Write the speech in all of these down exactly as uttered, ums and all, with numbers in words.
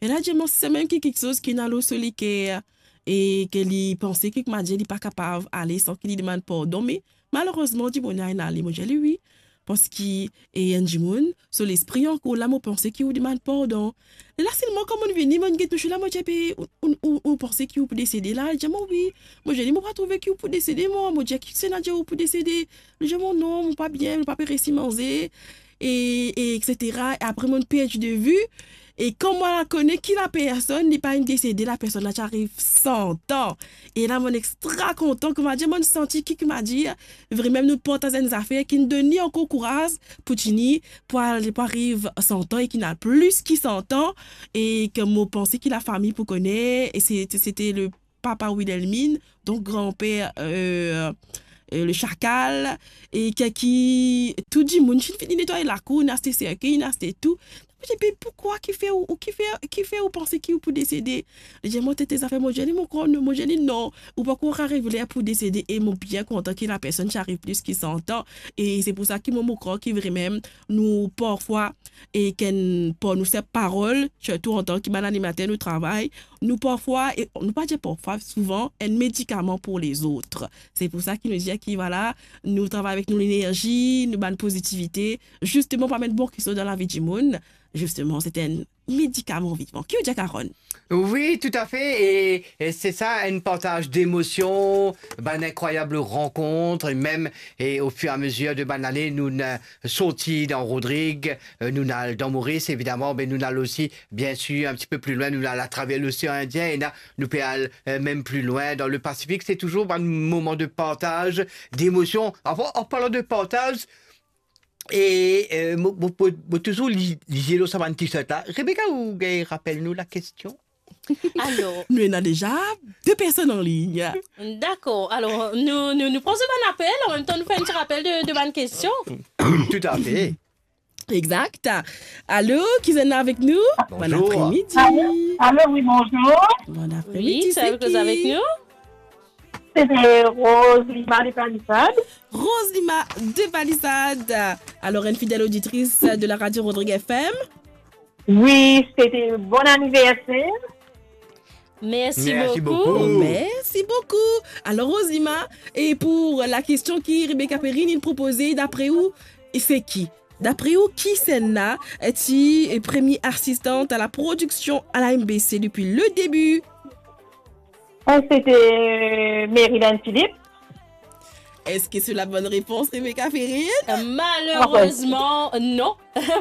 E la, dir mwa, se mem ki kiksoz ki ena lor so leker, e ki li panse ki, koumadir, li pa kapav ale san ki li demann pardon, me malerezman, dimoun la inn ale. Mo dir li, wi, parski, e, enn dimoun so lespri ankor la, mo panse ki ou demann pardon. E la selman, kan mo'nn vini, mo'nn get touzour la, mo dir, be, ou, ou, ou, ou panse ki ou pou desede la? Li dir mwa, wi. Mo dir li, mo pa trouve ki ou pou desede, mwa. Mo dir, kisannla dir ou pou desede? Li dir mwa, non, mo pa bien, mo pa pe resi manze, e, e etsetera. E apre, mo'nn perdi de vi. E kan mwa la kone ki lapersonn, li pa inn desede, lapersonn la ti ariv san an. E la, mo'nn extra kontan, koumadir, mo'nn santi ki, koumadir, vremem nou partaz enn zafer ki'nn donn li ankor kouraz pou tini, pou al, pou ariv san an e ki ena plis ki san an, e ki mo panse ki lafami pou kone, e se, se, sete le papa Wilhelmine, donk granper, euh, euh, le Chakal, e ki, ki tou dimoun ti fini netway lakour, inn aste serkey, inn aste tou. Mo dir, be, poukwa, kifer ou, ou, kifer, kifer ou panse ki ou pou desede? Li dir mwa, tete zafer, mo dir li, mo krwar, mo dir li, non, ou pankor ariv ler pou desede, e mo bien kontan ki lapersonn ti ariv plis ki san an, e se pou sa ki mo, mo krwar ki vremem nou parfwa, e kan par nou senp parol, sirtou antan ki bann animater nou travay, nou parfwa, e nou pa dir parfwa, souvan, enn medikaman pou lezot. Se pou sa ki nou dir ki, vwala, nou travay avek nou lenerzi, nou bann pozitivite, zisteman pou amenn bon kiksoz dan lavi dimoun. Zisteman, se enn medikaman vivan. Ki ou dir, Karonn? Wi, toutafe, e, e se sa, enn partaz demosion, bann inkrwayab rankont, e mem, e o fir e a mezir de bann lane, nou, euh, sorti dan Rodrig, euh, nou al dan Moris, evidaman, be nou al osi, biensir, enn tipe pli lwin, nou al atraver Losean Indien, e la, nou pe al, euh, mem pli lwin dan le Pasifik. Se touzour bann moman de partaz, demosion. An, an parlan de partaz, e, euh, mo, mo, mo, mo touzour li, lizie lor sa bann T-shirt la. Rebecca, ou gagn rapel nou lakestion? Alor. Nou ena deza de personn an lign. Dakor. Alor, nou, nou, nou pran so bann apel, an mem tan nou fer enn ti rapel de, de bann kestion. Toutafe. Exact. Alo, ki ena avek nou? Bonjour. Bon apremidi. Alo, alo, wi, bonjour. Bon apremidi, wi, se ki? Koz avek nou? Se Rose Lima de Palisade. Rose Lima de Palisade. Alor, enn fidel oditris de la radio Rodrig F M. Wi, sete bon aniverser. Mersi boukou. Mersi boukou. Alor, Rose Lima, e pou lakestion ki Rebecca Perrine inn propoze, dapre ou, se ki? Dapre ou, kisannla ti premie asistant a la prodiksion a la M B C depi le debi? Eh, sete, euh, Marilyn Philippe. Eski se la bonn repons, Rebecca Perrine? Malerezman, non.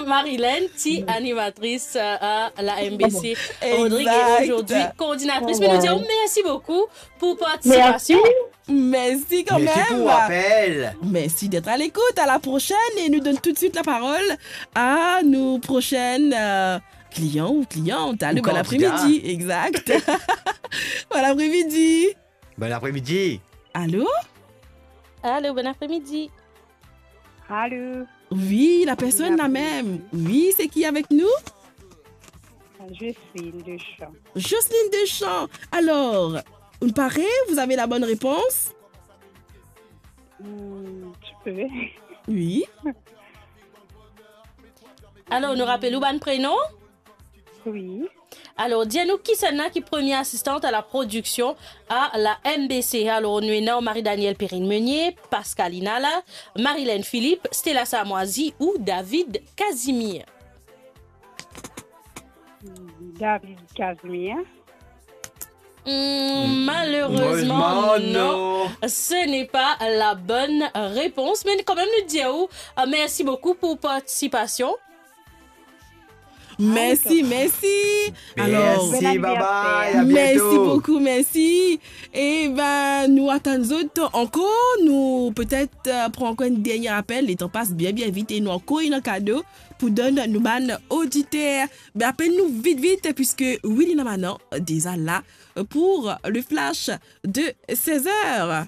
Marilyn ti animatris, euh, a la M B C. Rodrig, e azordi koordinatris. Me nou dir mersi boukou pou partisipasion. Mersi. Mersi kanmem. Mersi pou apel. Mersi d'être à l'écoute. À la prochaine. Et nous donne tout de suite la parole à nos prochaines, euh, clients ou clientes. Alo, bon apremidi. Exact. Bon apremidi. Bon apremidi. Alo? Alo, bon apremidi. Alo. Wi, la personn la mem. Wi, se ki avek nou? Jocelyne Deschamps. Jocelyne Deschamps. Alors, vous parez, vous avez la bonne réponse? Hmm, tu peux. Wi. Alor, nou rapel ou bann prenon? Wi. Alor, dir nou kisannla ki premie asistant a la prodiksion a la M B C. Alor, nou ena Marie-Danielle Perrine Meunier, Pascaline Ala, Marilyn Philippe, Stella Samoizi ou David Casimir? David Casimir. Hmm, malerezman, malerezman, non, non. Ce n'est pas la bonne réponse. Me kanmem, nou dir ou, euh, mersi boukou pou partisipasion. Mersi, mersi. Alor, mersi, bye bye, à bientôt. Mersi boukou, mersi. E ben, nou atann zot ankor, nou petet, euh, pran ankor enn dernie apel, letan pas bien, bien vit, e nou ankor ena kado pou donn nou bann oditer. Me apel nou vit, vit, piske Willy Namanan deza la pour le flash de seize heures.